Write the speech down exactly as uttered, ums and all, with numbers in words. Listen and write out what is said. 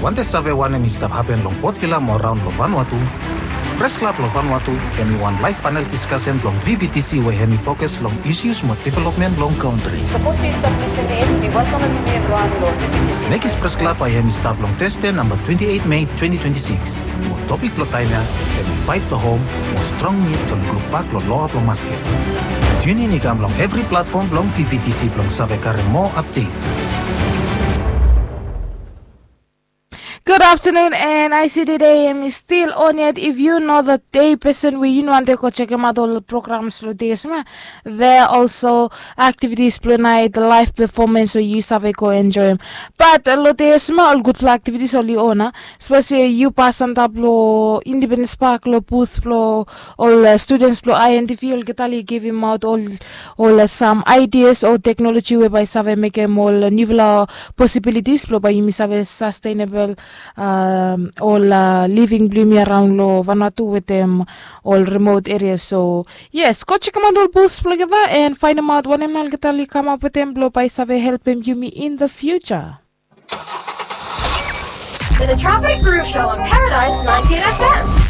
Wantem save wanem i stap hapen long Port Vila mo raon long Vanuatu? Pres Klab long Vanuatu hem i wan laef panel diskasen blong V B T C we hem i fokus long isus mo developmen blong kantri. Sapos yu stap lisin in, mi welkamem yumi evriwan long V B T C. Mekis Pres Klab bae hem i stap long Tasde namba twenti eit Mei twenti twenti sikis. Mo topik blong taem ya hem i Faet blong Hom mo strong nid blong lukluk bak long loa blong masket. Tiunin i kam long evri platfom blong V B T C blong save karem moa apdet. Gud aftanun, and I see the day hem i stil on yet. If yu no the day person we yu no wantem go jekemaot ol programs long dei yesma, there are also activities blong nait, live performance we yu save go enjoem. Bat long dei yesma ol gudfala activities oli on a. Sapos yu pas antap long Independence Park long booth blong ol students blong I N D V, olgeta oli givimaot ol ol sam ideas o teknoloji we bae save mekem ol niufala possibilities blong bae yumi save sustainable ol living blong yumi araon long Vanuatu wetem ol remote areas. So yes, go jekemaot ol booths blong olgeta and faenemaot wanem nao olgeta oli kamap wetem blong bae save helpem yumi in the future. The Traffic Groove Show on Paradise ninety-eight F M.